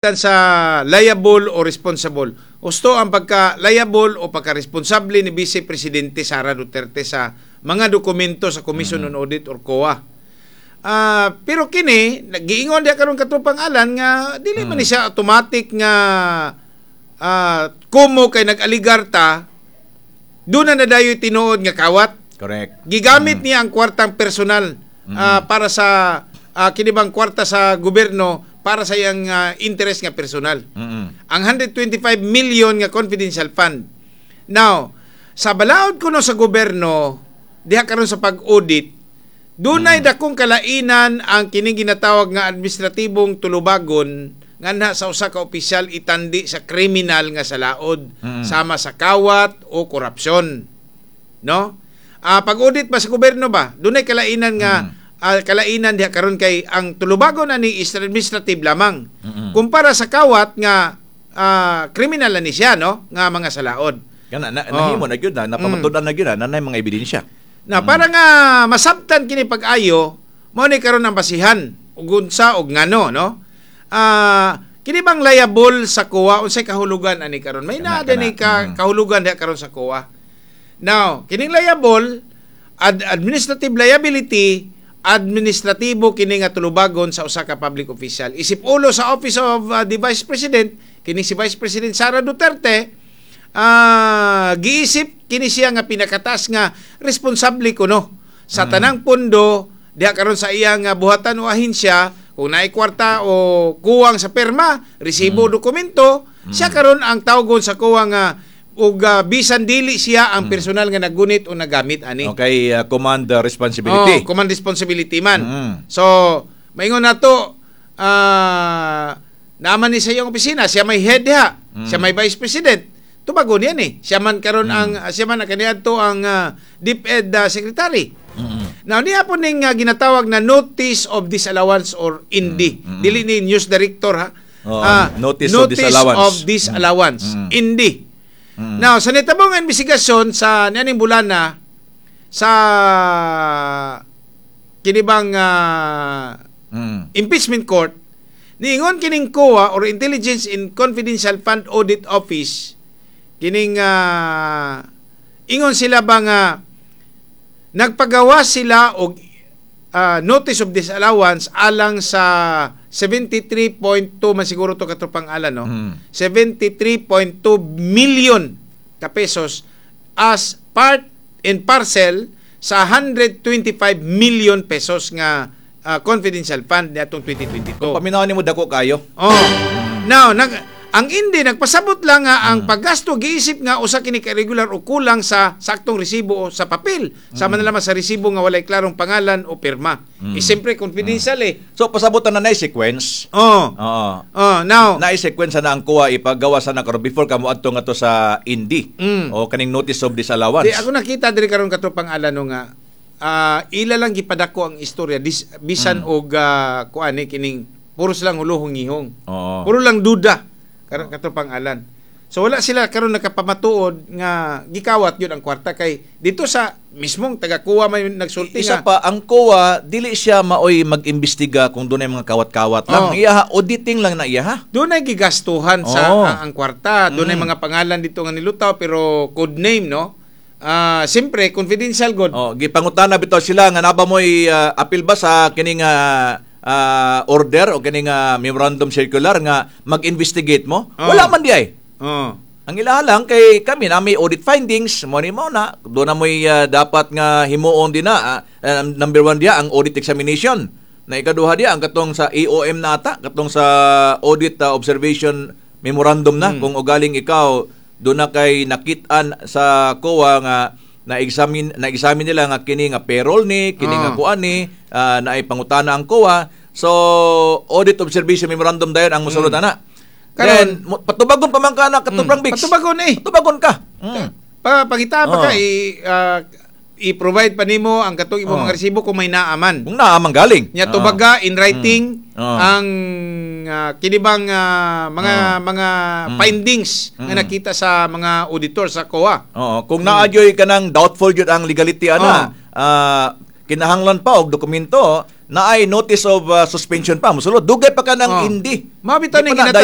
Sa liable o responsible. Husto ang pagka liable o pagka-responsable ni Vice Presidente Sara Duterte sa mga dokumento sa Commission on Audit or COA. Pero kini nagiingon diha karon, katropang Alan, nga dili man ni siya automatic nga kumo kay nag-aligar ta, doon na nadayoy tinuod nga kawat. Correct. Gigamit niya ang kwartang personal para sa kini bang kwarta sa gobyerno para sa iyang interest nga personal. Ang 125 million nga confidential fund. Now, sa balaod kuno sa gobyerno diha karon sa pag-audit, dunay dakong kalainan ang kining ginatawag nga administratibong tulubagon nga na sa usa ka opisyal itandi sa kriminal nga salaod sama sa kawat o korupsyon. No? Pag-audit ba sa gobyerno ba? Dunay kalainan nga kalainan diha karon kay ang tulubagon ani is administrative lamang. Kumpara sa kawat nga kriminal na ni siya, no, nga mga salaod. Kana na, nahimo na gyud na, napamatud-an na gyud na, nanay mga ebidensya. Na para nga masabtan kini pag-ayo, mao ni karon ang basihan ug unsa ug ngano, no? Kini bang liable sa COA, unsay kahulugan ani karon? May naa din ka, kahulugan diha karon sa COA. Now, kining liable administrative liability, administratibo kini nga tulubagon sa usa ka public official. Isip ulo sa Office of the Vice President, kini si Vice President Sara Duterte, giisip kini siya nga pinakatas nga responsable kuno sa tanang pondo diha karon sa iyang buhatan o ahensya. Kung naay kwarta o kuwang sa perma, resibo, dokumento, siya karon ang tawgon sa kuwang nga ug bisan dili siya ang personal nga naggunit o nagamit ani. Okay, command responsibility. Oh, command responsibility man. So, maingon nato naaman ni sa iyang opisina, siya may head diha, siya may vice president. Tubagon yan eh. Siya man ang kaniadto ang DepEd secretary. Now niya po ning ginatawag na notice of disallowance or ND. Dili ni news director ha. Oo, notice notice of disallowance. Of disallowance. ND. Now sa nitabong investigasyon sa nianing bulana sa kinibang impeachment court, niingon kining COA or Intelligence in Confidential Fund Audit Office, kining ingon sila ba nga nagpagawa sila og notice of disallowance alang sa 73.2 man siguro to, katropang Alan, no? 73.2 million ka pesos as part and parcel sa 125 million pesos nga confidential fund niadtong 2022. Kung paminaw nimo, dako kayo. Oh. Now, ang hindi nagpasabot lang nga ang paggasto giisip nga usa kini ka regular o kulang sa saktong resibo o sa papel. Sama na lamang sa resibo nga walay klarong pangalan o pirma. Eh, siyempre confidential eh. So pasabutan na sequence. Oh. Oo. Oh, now Na sequence na ang kuha ipagawa sa na karon before ka moadto nga to sa ND o kaning notice of disallowance. Di ako nakita diri karon, katropang Alan, no, nga ila lang gipadako ang istorya bisan og kuan eh, kining puros lang ulohong ngihong. Puro lang duda karon, katropang Alan. So wala sila karon nakapamatuod nga gikawat yun ang kwarta kay dito sa mismong taga-COA may nagsulti Isa nga pa, ang COA, dili siya maoy mag-imbestiga kung doon ay mga kawat-kawat lang. Iya ha, auditing lang na iya ha. Doon ay gigastuhan sa ang kwarta. Doon ay mga pangalan dito nga nilutaw pero code name, no. Siyempre confidential god. Oh, gipangutana bitaw sila nga naba mo'y apil ba sa kining order o kining memorandum circular nga mag-investigate mo? Wala man di ay. Ang ilaha lang kay kami na may audit findings, mo ni mo na doon na mo'y dapat nga himuon din na number one diya ang audit examination. Na ikaduha diya ang katong sa AOM na ata, katong sa audit observation memorandum na kung ugaling ikaw doon na kay nakitaan sa COA nga na-examine nila nga kini nga payroll ni kini nga kuan ni na ay pangutana ang COA. So audit observation memorandum dayon ang mosulod ana. Karon- Then, patubagon pa man ka na, katubrang Bix. Patubagon eh. Patubagon ka. Pa pangita pa ka i-provide pa nimo ang katong imong mga resibo kung may naaman. Kung naa man galing. Nya tubaga in writing ang kinibang mga mga findings nga nakita sa mga auditor sa COA. Oo, kung naa gyoy kanang doubtful gyud ang legality ana, kinahanglan pa og dokumento, Naay notice of suspension pa. Musulod dugay pa ka ng hindi. Mao bitaw Di ning pa na ginatawag.